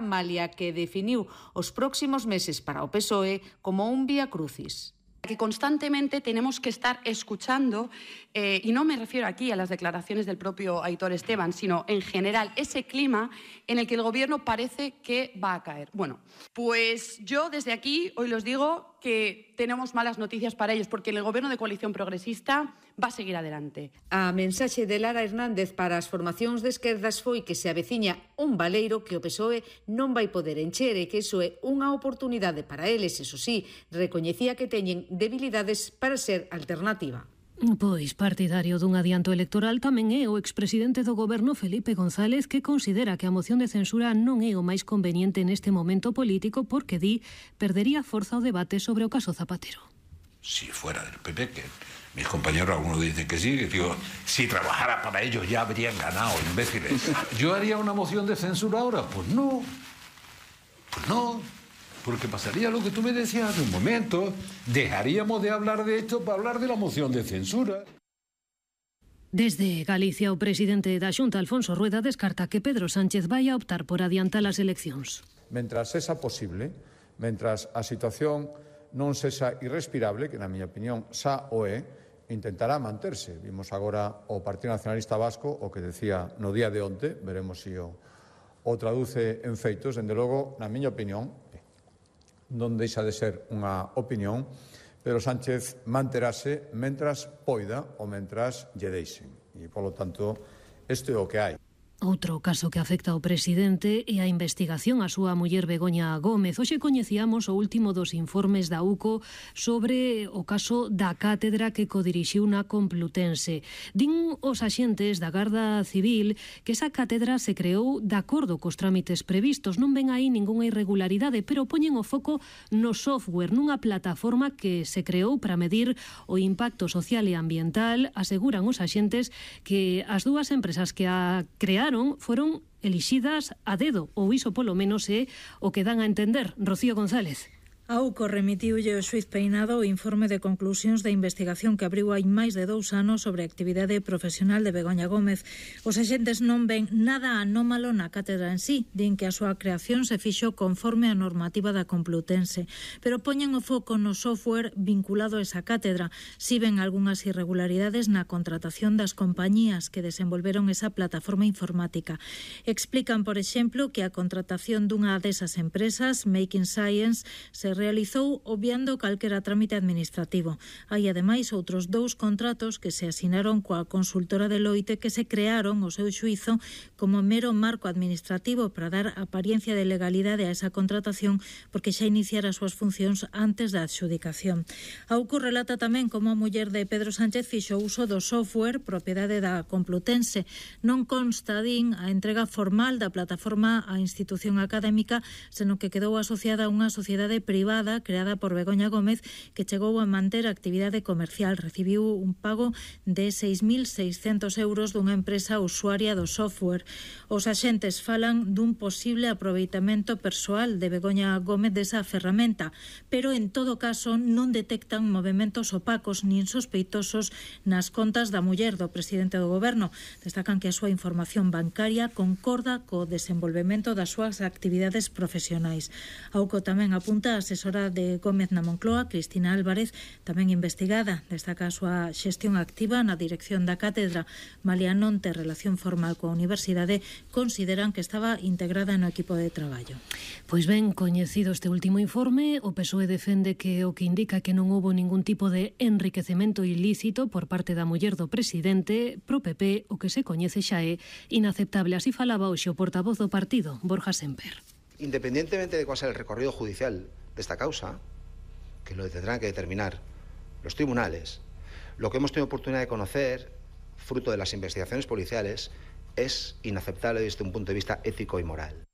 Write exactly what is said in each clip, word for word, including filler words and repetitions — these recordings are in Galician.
malia que definiu os próximos meses para o P S O E como un vía crucis. Que constantemente tenemos que estar escuchando, eh, y no me refiero aquí a las declaraciones del propio Aitor Esteban, sino en general ese clima en el que el Gobierno parece que va a caer. Bueno, pues yo desde aquí hoy les digo que tenemos malas noticias para ellos, porque el Gobierno de coalición progresista va a seguir adelante. A mensaxe de Lara Hernández para as formacións de esquerdas foi que se aveciña un baleiro que o P S O E non vai poder encher e que iso é unha oportunidade para eles. Eso sí, recoñecía que teñen debilidades para ser alternativa. Pois partidario dun adianto electoral tamén é o expresidente do Goberno Felipe González, que considera que a moción de censura non é o máis conveniente neste momento político porque di perdería forza o debate sobre o caso Zapatero. Si fuera del P P, que mis compañeros algunos dicen que sí, que digo, si trabajara para ellos ya habrían ganado, imbéciles. ¿Yo haría una moción de censura ahora? Pues no, pues no. Porque pasaría lo que tú me decías hace un momento, dejaríamos de hablar de esto para hablar de la moción de censura. Desde Galicia, o presidente da Xunta, Alfonso Rueda, descarta que Pedro Sánchez vai a optar por adiantar as eleccións. Mentras esa posible, mentras a situación non sexa irrespirable, que na miña opinión xa o é, intentará manterse. Vimos agora o Partido Nacionalista Vasco, o que decía no día de onte, veremos se o, o traduce en feitos. Dende logo, na miña opinión, non deixa de ser unha opinión, Pedro Sánchez manterase mentras poida ou mentras lle deixen. E, polo tanto, isto é o que hai. Outro caso que afecta ao presidente é a investigación á súa muller Begoña Gómez. Hoxe coñecíamos o último dos informes da U C O sobre o caso da cátedra que codirixiu na Complutense. Din os axentes da Garda Civil que esa cátedra se creou de acordo cos trámites previstos. Non ven aí ningunha irregularidade, pero poñen o foco no software, nunha plataforma que se creou para medir o impacto social e ambiental. Aseguran os axentes que as dúas empresas que a crearon foron elixidas a dedo, ou iso polo menos é o que dan a entender. Rocío González. A U C O remitiulle o xuiz Peinado o informe de conclusións da investigación que abriu hai máis de dous anos sobre a actividade profesional de Begoña Gómez. Os axentes non ven nada anómalo na cátedra en sí, din que a súa creación se fixo conforme a normativa da Complutense, pero poñen o foco no software vinculado a esa cátedra. Si ven algunhas irregularidades na contratación das compañías que desenvolveron esa plataforma informática. Explican, por exemplo, que a contratación dunha desas empresas, Making Science, se realizou obviando calquera trámite administrativo. Hai, ademais, outros dous contratos que se asinaron coa consultora Deloitte que se crearon, o seu xuizo, como mero marco administrativo para dar apariencia de legalidade a esa contratación porque xa iniciara as súas funcións antes da adxudicación. A U C O relata tamén como a muller de Pedro Sánchez fixo uso do software propiedade da Complutense. Non consta, din, a entrega formal da plataforma á institución académica, senón que quedou asociada a unha sociedade privada creada por Begoña Gómez que chegou a manter a actividade comercial. Recibiu un pago de seis mil seiscentos euros dunha empresa usuaria do software. Os axentes falan dun posible aproveitamento persoal de Begoña Gómez desa ferramenta, pero en todo caso non detectan movementos opacos nin sospeitosos nas contas da muller do presidente do Goberno. Destacan que a súa información bancaria concorda co desenvolvemento das súas actividades profesionais. A U C O tamén apunta a asesora de Gómez na Moncloa, Cristina Álvarez, tamén investigada. Destaca a súa xestión activa na dirección da cátedra. Malia non ter relación formal coa universidade, consideran que estaba integrada no equipo de traballo. Pois ben, coñecido este último informe, o P S O E defende que o que indica que non houbo ningún tipo de enriquecemento ilícito por parte da muller do presidente. Pro P P, o que se coñece xa é inaceptable. Así falaba hoxe o portavoz do partido, Borja Semper. Independientemente de cuál sea el recorrido judicial de esta causa, que lo tendrán que determinar los tribunales, lo que hemos tenido oportunidad de conocer, fruto de las investigaciones policiales, es inaceptable desde un punto de vista ético y moral.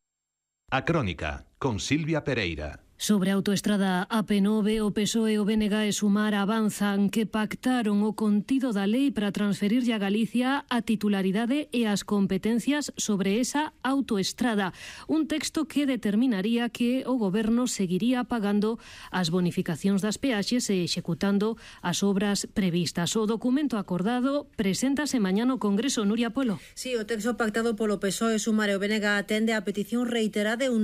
A Crónica, con Silvia Pereira. Sobre a autoestrada A P nove, o P S O E, o B N G e Sumar avanzan que pactaron o contido da lei para transferirlle a Galicia a titularidade e as competencias sobre esa autoestrada. Un texto que determinaría que o Goberno seguiría pagando as bonificacións das peaxes e executando as obras previstas. O documento acordado preséntase mañá no Congreso. Nuria Polo. Sí, o texto pactado polo P S O E, Sumar e o B N G atende a petición reiterada de un